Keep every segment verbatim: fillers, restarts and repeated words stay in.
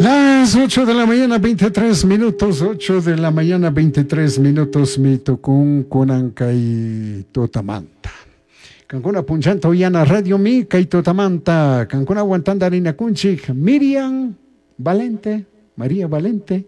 Las ocho de la mañana, veintitrés minutos, ocho de la mañana, veintitrés minutos, mi tukun kunan kay tutamanta. Kankuna punchanta uyana radio mi kay tutamanta, kankunawan tandarinakunchik, Miriam Valente, María Valente.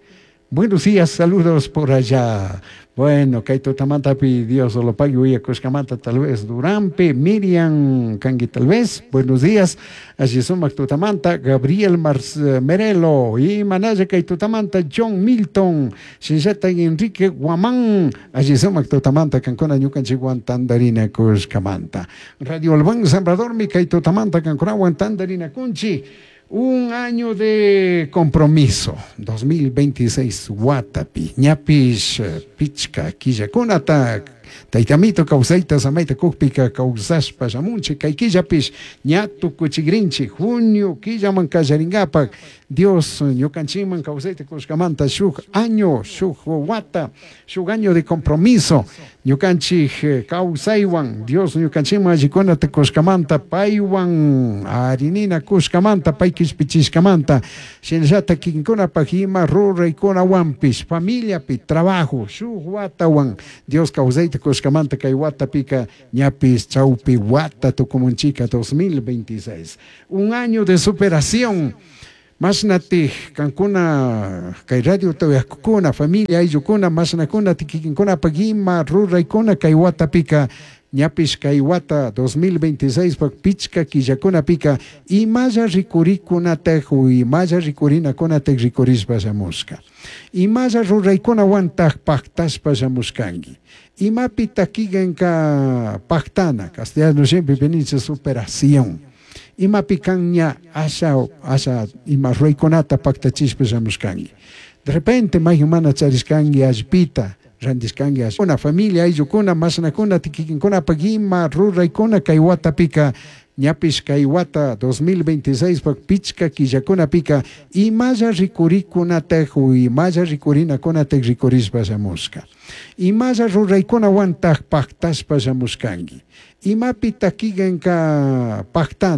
Buenos días, saludos por allá. Bueno, kay tutamantapi Dios lo pague uyakushkamanta tal vez Durampe, Miriam kanki tal vez. Buenos días. Allí sumak tutamanta, Gabriel Mars Merelo y Manaya kay tutamanta, John Milton, Shinshata Enrique Guamán. Allí sumak tutamanta, kankuna ñukanchikwan tandarinakushkamanta. Radio Albán Salvador mi kay tutamanta, kankunawan tandarinakunchik. Un año de compromiso, dos mil veintiséis watapi, ñapish pichka killakunata, taytamito kawsayta samayta kukpika kawsashpa shamunchik, kay killapish ña tukuchikrinchik, junio killaman kallarinkapak, Dios ñukanchikman kawsayta kushkamanta shuk año, shuk wata, shuk año de compromiso, ñukanchik kawsaywan, Dios ñukanchikman allikunata kushkamanta, paywan arinina kushkamanta, pay kishpichishkamanta, shinallata kikinkunapak ima ruraykunawanpish, familiapi, trabajo, shuk watawan, Dios kawsayta kushkamanta kay watapika ñapis chawpi wata tukumunchika dos mil veintiséis. Un año de superación. Mashnatij kankuna kay radio tawakuna familia ayllukuna mashnakuna tikikinkuna ima ruraykuna kay watapika ñapish kay wata dos mil veintiséis pak pichka killakunapika imalla rikurikunataj u imalla rikurinakunataj rikurishpa shamushka imalla ruraykunawantaj paktashpa shamushkanki imapi takikanka paktana castellano siempre veniche superación imapi kanña asha asha ima ruraykunata paktachishpa shamushkanki de repente may mana charishkanki allpita randishkanki una familia ayllukuna mashnakuna tikikinkunapak ima ruraykuna kay watapika ñapish kay wata dos mil veintiséis pak pichka killakunapika imalla rikurikunataj u imalla rikurinakunataj rikurishpa shamushka imalla ruraykunawantaj paktashpa shamushkanki imapi takikanka paktana.